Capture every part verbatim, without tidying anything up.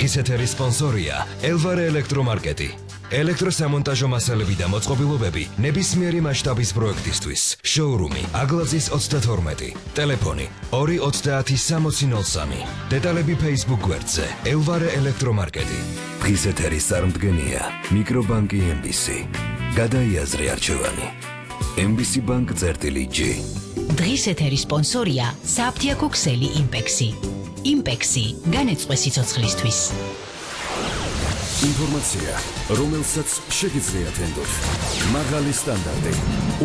დღის ეთერის სპონსორია ელვარე ელექტრომარკეტი. ელექტროსამონტაჟო მასალები და მოწყობილობები ნებისმიერი მასშტაბის პროექტისთვის. შოურუმი აგლაძის ოცდათორმეტი. ტელეფონი ორი ოცდაათი სამოცი ნოლ სამი. დეტალები Facebook გვერდზე ელვარე ელექტრომარკეტი. დღის ეთერის წარმდგენია მიკრობანკი ემ ბი სი. გადაიაზრე არჩევანი. ემ ბი სი ბანკ წერტილი ჯი. დღის ეთერის სპონსორია საფთიაქო ქსელი იმპექსი. იმპექსი განეწყვე სიცოცხლისთვის. ინფორმაცია, რომელსაც შეგიძლიათ ენდოთ. მაღალი სტანდარტი,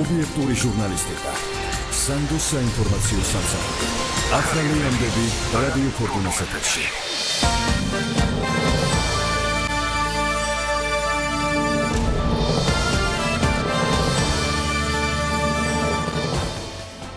ობიექტური ჟურნალისტიკა. სანდო საინფორმაციო სამსახური. ახალი ამბები რადიო ფორტუნას ეთერში.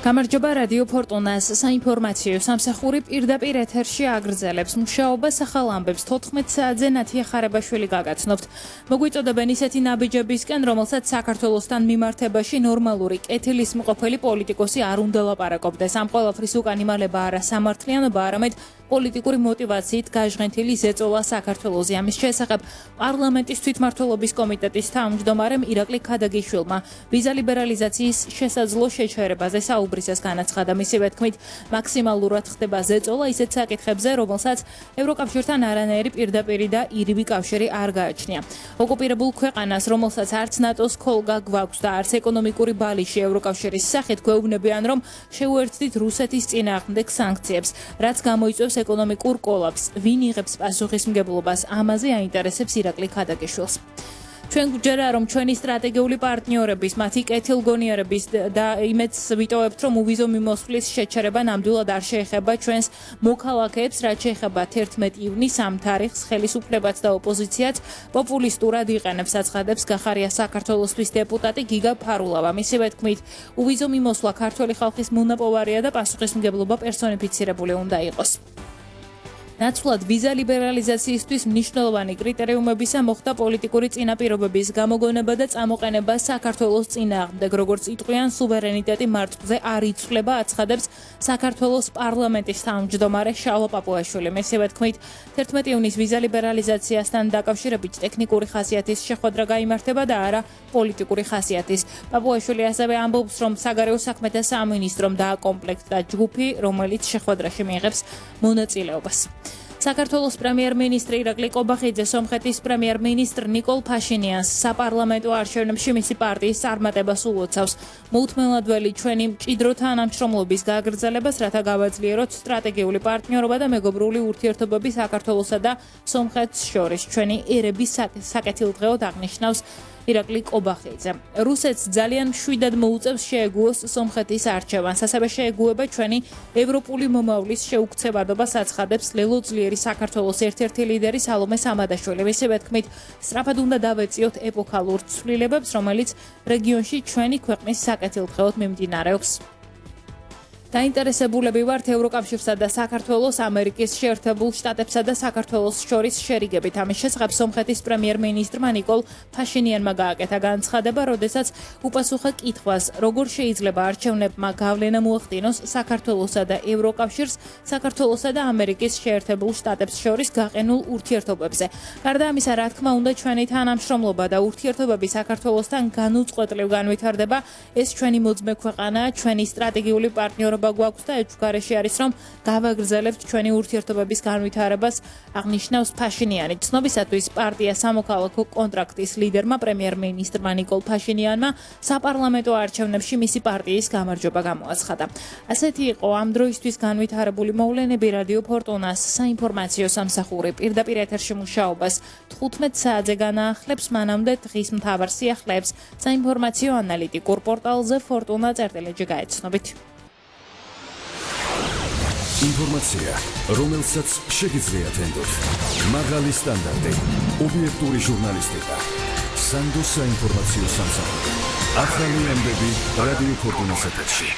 გამარჯობა რადიო ფორტუნას საინფორმაციო სამსახური პირდაპირ ეთერში აგრძელებს მუშაობას ახალ ამბებს თოთხმეტ საათზე ნათია ხარებაშვილი გაგაცნობთ. მოგვიწოდებენ ისეთი ნაბიჯებისკენ, რომელსაც საქართველოსთან მიმართებაში ნორმალური კეთილისმყოფელი პოლიტიკოსი არ უნდა ლაპარაკობდეს. ამ ყველაფრის უკან იმალება არა სამართლიანობა, არამედ პოლიტიკური მოტივაციით გაჟღენთილი ზეწოლა საქართველოზე. ამის შესახებ პარლამენტის თვითმმართველობის კომიტეტის თავმჯდომარემ ირაკლი ქადაგიშვილმა ვიზა ლიბერალიზაციის შესაძლო შეჩერებაზე საუბრისას განაცხადა. მისივე თქმით, მაქსიმალურად ხდება ზეწოლა ისეთ საკითხებზე, რომელსაც ევროკავშირთან არანაირი პირდაპირი და ირიბი კავშირი არ გააჩნია. ოკუპირებულ ქვეყანას, რომელსაც არც ნატოს ქოლგა გვაქვს და არც ეკონომიკური ბალიში ევროკავშირის სახით, გვეუბნებიან, რომ შეუერთდით რუსეთის წინააღმდეგ სანქციებს, რაც გამოიწვევს ეკონომიკურ კოლაფს. ვინ იღებს პასუხისმგებლობას? ამაზე აინტერესებს ირაკლი ქადაგიშვილს. ჩვენ გვჯერა, რომ ჩვენი სტრატეგიული პარტნიორების, მათი კეთილგონიარების და იმედს ვიტოვებთ, რომ უვიზო მიმოსვლის შეჩერება ნამდვილად არ შეეხება ჩვენს მოქალაქეებს, რაც შეეხება თერთმეტი ივნისს ამ თარიღს ხელისუფლებაც და ოპოზიციაც პოპულისტურად იყენებს, აცხადებს გახარია საქართველოსთვის დეპუტატი გიგა ფარულავა. მისივე თქმით, უვიზო მიმოსვლა ქართველი ხალხის მონაპოვარია და პასუხისმგებლობა პერსონიფიცირებული უნდა იყოს. ნაცვლად ვიზა ლიბერალიზაციისთვის მნიშვნელოვანი კრიტერიუმებისა მოხდა პოლიტიკური წინაპირობების გამოგონება და წამოყენება საქართველოს წინააღმდეგ, როგორც იტყვიან, სუვერენიტეტი მართლზე არ იცვლება, აცხადებს საქართველოს პარლამენტის თავმჯდომარე შალვა პაპუაშვილი. მისივე თქმით, თერთმეტი ივნისს ვიზა ლიბერალიზაციასთან დაკავშირებით ტექნიკური ხასიათის შეხვედრა გაიმართება და არა პოლიტიკური ხასიათის. პაპუაშვილი ასევე ამბობს, რომ საგარეო საქმეთა სამინისტრომ დააკომპლექტდა ჯგუფი, რომელიც შეხვედრაში მიიღებს მონაწილეობას. საქართველოს პრემიერ-მინისტრი ირაკლი კობახიძე სომხეთის პრემიერ-მინისტრ ნიკოლ ფაშინიანს საპარლამენტო არჩევნებში მისი პარტიის წარმატებას უოცავს. მოუთმენლად ჩვენი მჭიდრო თანამშრომლობის გაგრძელებას, რათა გავაძლიეროთ სტრატეგიული პარტნიორობა და მეგობრული ურთიერთობები საქართველოსა და სომხეთს შორის. ჩვენი ერების საკეთილდღეოდ აღნიშნავს ირაკლი კობახიძე. რუსეთს ძალიან მშვიდად მოუწევს შეეგუოს სომხეთის არჩევანს, ასევე შეეგუება ჩვენი ევროპული მომავლის შეუქცევადობას, აცხადებს ლელოძლიერი საქართველოს ერთ-ერთი ლიდერი სალომე სამადაშვილი. მისივე თქმით, სწრაფად უნდა დავეწიოთ ეპოქალურ ცვლილებებს, რომელიც რეგიონში ჩვენი ქვეყნის საკეთილდღეოდ მიმდინარეობს. დაინტერესებულები ვართ ევროკავშირსა და საქართველოს, ამერიკის შეერთებულ შტატებსა და საქართველოს შორის შერიგებით. ამის შესახებ სომხეთის პრემიერ-მინისტრმა ნიკოლ ფაშინიანმა გააკეთა განცხადება, როდესაც უპასუხა კითხვას, როგორ შეიძლება არჩევნებმა გავლენა მოახდინოს საქართველოსა და ევროკავშირს, საქართველოსა და ამერიკის შეერთებულ შტატებს შორის გაყენულ ურთიერთობებზე. გარდა ამისა, რა თქმა უნდა, ჩვენი თანამშრომლობა და ურთიერთობები საქართველოსთან განუწყვეტლივ განვითარდება. ეს ჩვენი მოძმე ქვეყანაა, ჩვენი სტრატეგიული პარტნიორობა გვაქვს და ეჭვგარეშე არის, რომ გავაგრძელებთ ჩვენი ურთიერთობების განვითარებას, აღნიშნავს ფაშინიანი. ცნობისათვის პარტია სამოქალაქო კონტრაქტის ლიდერმა პრემიერ-მინისტრმა ნიკოლ ფაშინიანმა საპარლამენტო არჩევნებში მისი პარტიის გამარჯვება გამოაცხადა. ასეთი იყო ამ დროისთვის განვითარებული მოვლენები. რადიო ფორტუნას საინფორმაციო სამსახური პირდაპირ ეთერში მუშაობას თხუთმეტ საათზე განაახლებს, მანამდე დღის მთავარ სიახლეებს საინფორმაციო ანალიტიკურ პორტალზე ფორტუნა წერტილი ჯი გაეცნობით. ინფორმაცია, რომელსაც შეგიძლიათ ენდოთ. მაღალი სტანდარტი, ობიექტური ჟურნალისტიკა. სანდო საინფორმაციო სამსახური. ახალი ამბები რადიო ფორტუნას ეთერში.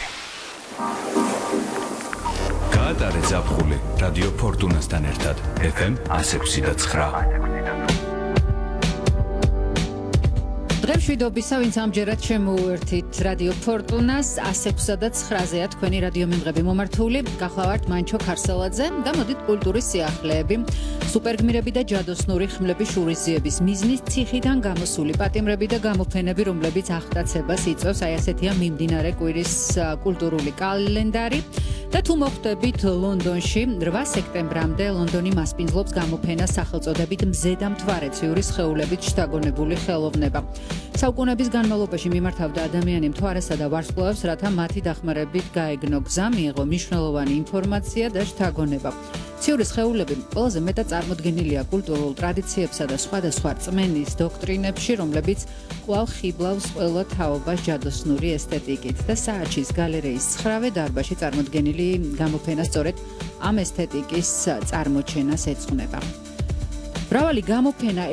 გაატარე ზაფხული რადიო ფორტუნასთან ერთად. ეფ ემ εκατი ექვსი და ცხრა. მშვიდობისა, ვინც ამჯერად შემოუერთით რადიო ფორტუნას one oh six და nine-ზეა თქვენი რადიო მიმღები მომართული. გახლავართ მანჩო ქარსელაძე და მოდით კულტურის სიახლეები. სუპერგმირები და ჯადოსნური ხმლები შურისძიების მიზნით ციხიდან გამოსული პატიმრები და გამოფენები, რომლებიც აღტაცებას იწვევს, აი ასეთია მიმდინარე კვირის კულტურული კალენდარი. და თუ მოხვდებით ლონდონში eight სექტემბრამდე ლონდონი მასპინძლობს გამოფენას სახელწოდებით მზე და მთვარეციური სხეულებით შთაგონებული ხელოვნება. საუკუნეების განმავლობაში მიმართავდა ადამიანი მთვარესა და ვარსკვლავებს, რათა მათი დახმარებით გაეგნო გზა, მიიღო მნიშვნელოვანი ინფორმაცია და შთაგონება. ციური სხეულები ყველაზე მეტად წარმოდგენილია კულტურულ ტრადიციებსა და სხვადასხვა რწმენის დოქტრინებში, რომლებიც კვლავ ხიბლავს ყველა თაობას ჯადოსნური ესთეტიკით და სააჩის გალერეის ცხრავე დარბაზში წარმოდგენილი გამოფენა სწორედ ამ ესთეტიკის წარმოჩენას ეძღვნება. მრავალი გამოფენა